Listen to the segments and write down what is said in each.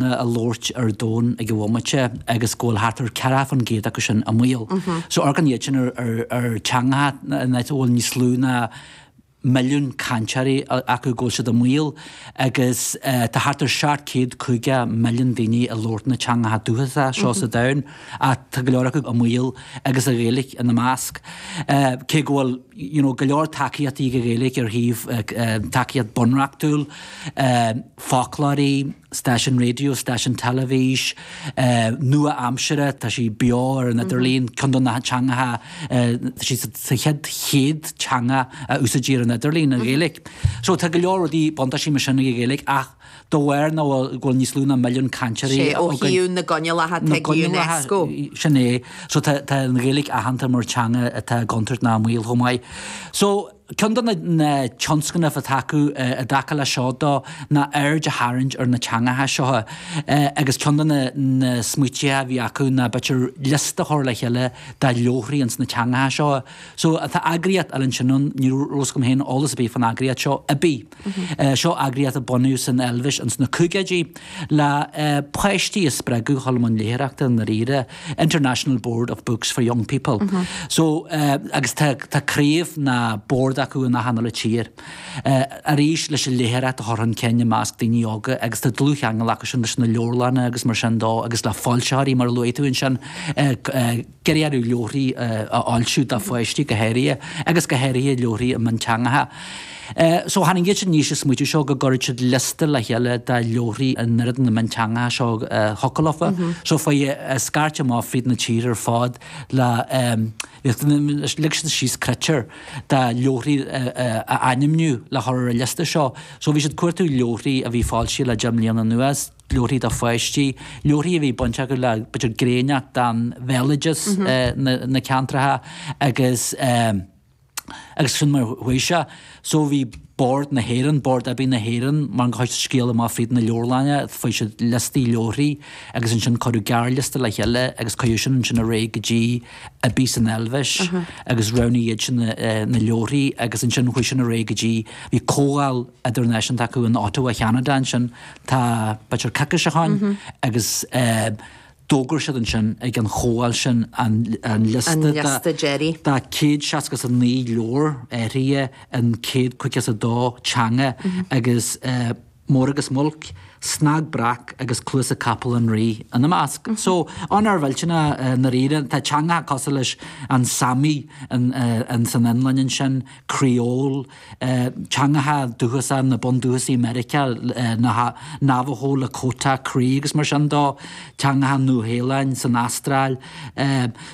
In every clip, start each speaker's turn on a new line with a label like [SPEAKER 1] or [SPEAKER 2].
[SPEAKER 1] Á labhairt ar domhan ag an bhomaite agus go bhfuil thart ar 40% acu sin i mbaol. So amharcann iad sin ar teangacha in áit a bhfuil níos lú ná milliún cainteoirí acu go bhfuil siad i mbaol agus tá thart ar 750 milliún daoine ag labhairt na teangacha dúchasacha seo sa domhan ach tá go leor acu i mbaol agus an Ghaeilge ina measc. Cé go bhfuil you know go leor tacaíochtaí ag an Ghaeilge ar thaobh tacaíocht bunreachtúil, foclóirí, stáisiún raidió, stáisiún teilifís, nua-aimsire, tá sí beo ar an idirlíon, ceann de na teangacha, tá sí sa chéad chéad teanga a úsáidtear ar an idirlíon, an Ghaeilge. So tá go leor rudaí, buntáistí mar sin ag an Ghaeilge ach de bharr nach bhfuil, go bhfuil níos lú ná milliún cainteoirí
[SPEAKER 2] Sé ó thaobh na gcoinníollacha
[SPEAKER 1] atá ag UNESCO. Sin é. So tá an Ghaeilge aitheanta mar teanga atá i gcontúirt ná i mbaol chomh maith. So. Ceann de na tionscnaimh atá acu i dtaca leis seo dó ná aird a tharraingt ar na teangacha seo agus ceann de na smaoitithe a bhí acu ná b'fhéidir liosta a chur le chéile de leabharthaí ins na teangacha seo. So tá eagraíocht eile ansin ann, ní raibh a fhios agam féin eolas ar bith fán eagraíocht seo, IBBY. Seo eagraíocht a bunaíodh san Eilvéis ins na caogaidí le páistí a spreagadh dhul i mbun léitheoireachta i ndáiríre. International Board of Books for Young People. So, agus tá tá craobh ná bord acu in achan uile tír. Arís leis an léitheoireacht a chur chun cinn i measc daoine óga agus tá dlúthcheangal acu sin leis na leabharlanna agus mar sin dó agus le foilsitheoirí mar a luaigh tú ansin ag iarraidh leabharthaí a fhoilsiú do pháistí go háirithe agus go háirithe leabharthaí i mionteangacha. So tháinig iad sin aníos leis an smaoitiú seo go gcuirfeadh siad liosta le chéile de leabharthaí in oiread de na mionteangacha seo a thiocfadh leofa. So fuair scairte amach fríd na tír ar fad le lig siad síos critéir de leabharthaí a ainmniú le chur ar an liosta seo. So bhí siad cuartú leabharthaí a bhí foilsithe le 10 mbliana anuas, leabharthaí do pháistí, leabharthaí a bhí baint acu le b'fhéidir gréineacht den bhéaloideas na ceantracha agus Agus sin mar chuaigh sé. So bhí Bord na hÉireann, Bord IBBY na hÉireann, mar gur chuaigh scéal amach fríd na leabharlanna, fuair siad liostaí leabharthaí agus ansin cuireadh gearrliosta le chéile agus cuireadh sin ansin ar aghaidh go dtí IBBY san Eilvéis agus roghnaigh iad sin na leabharthaí agus ansin chuaigh sin ar aghaidh go dtí, bhí comhdháil idirnáisiúnta acu in Ottawa, Cheanada ansin, tá b'fhéidir coicís ó shoin agus eh, D'fhógair siad ansin ag an chomhdháil sin an liosta de 169 leabhar áirithe in 152 teanga agus Mór agus Muilc, Snag Breac agus Cluasa Capall an Rí ina measc. So, onóir mhillteanach i ndáiríre. Tá teangacha cosúil leis an Sami san Fhionlainn ansin, Creole, teangacha dúchasacha na bundúchasaigh Meiriceá, na Navajo, Lakota, Cree agus mar sin dó, teangacha Nua-Shéalainn, san Astráil.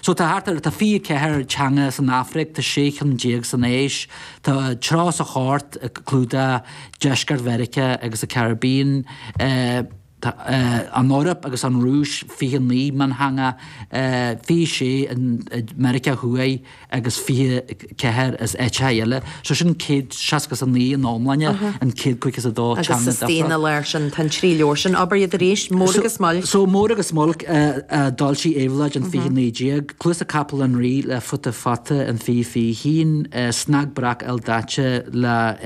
[SPEAKER 1] So tá thart ar, tá 24 teanga san Afraic, tá 16 cheann san Áis, tá 38 ag clúdach deisceart Mheiriceá agus an Caribbean, Tá an Eoraip agus an Rúis 29 miontheanga, 26 i Meiriceá Thuaidh agus 24 as áiteacha eile. So sin 169 in iomláine, an 152 teanga
[SPEAKER 2] difriúil. Agus istigh ina lár sin, tá an trí leabhar sin. Abair iad arís, Mór agus Muilc.
[SPEAKER 1] So Mór agus Muilc a d'fhoilsigh Éabhlóid in 2019, Cluasa Capall an Rí le Futa Fata in 2021, Snag Breac Ildaite le.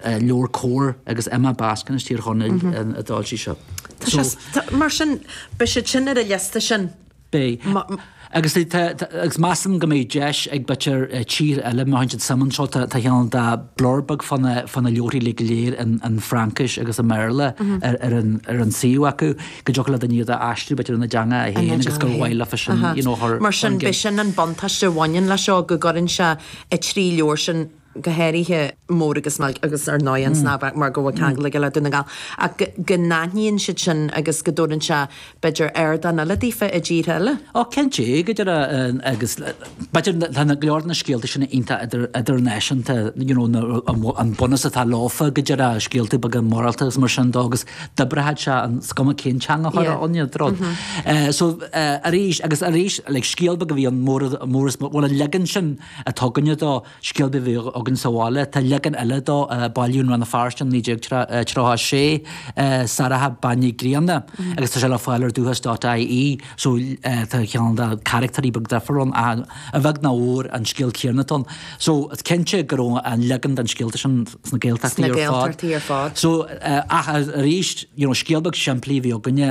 [SPEAKER 1] LeabhairCOMHAR agus Emma Baskin as Tír Chonaill a d'fhoilsigh seo.
[SPEAKER 2] Tá sé, mar sin, beidh siad sin ar an liosta sin.
[SPEAKER 1] Beidh. Agus tá, agus measaim go mbeidh deis ag b'fhéidir tír eile, má théann siad suim anseo, tá cineál de blurb beag fá na, fá na leabharthaí uilig go léir in, in Fraincis agus i mBéarla ar, ar an, ar an suíomh acu, go dtiocfadh le duine iad a aistriú b'fhéidir ina dteanga féin agus gur mhaith leofa sin, you know, a chur
[SPEAKER 2] Mar sin, beidh sin an buntáiste a bhaineann leis seo, go gcuireann sé an trí leabhar sin go háirithe Mór agus Muilc agus ar ndóigh an Snag Breac mar go bhfuil ceangal aige le Dún na nGall, ach go n-aithníonn siad sin agus go dtabharann sé b'fhéidir ardán eile daofa i dtíortha eile.
[SPEAKER 1] Ó cinnte, go deimhin agus b'fhéidir tá go leor de na scéalta sin iontach idirnáisiúnta, you know, an bunús atá leofa go deimhin, scéalta beaga morálta agus mar sin dó agus d'oibreodh sé an is cuma cén teanga a chuirfeá ann iad rud. So arís agus arís like scéal beag a bhí ann Mór is bhuel an leagan sin atá againne dó, Scéal beag a bhí againn sa bhaile. Tá leagan eile dó a bailíodh i Rann na Feirste in 1936, Sarach Bean Ní Grianna, agus tá sé le fáil ar Dúchas dot ie, so tá cineál de charactairí beag difriúil ann ach a bheag nó a mhór an scéal céanna atá ann. So is cinnte go raibh an leagan den scéalta sin sna Gaeltachtaí
[SPEAKER 2] ar fad. Sna Gaeltachtaí ar fad.
[SPEAKER 1] So ach arís, you know, scéal beag simplí a bhí againne.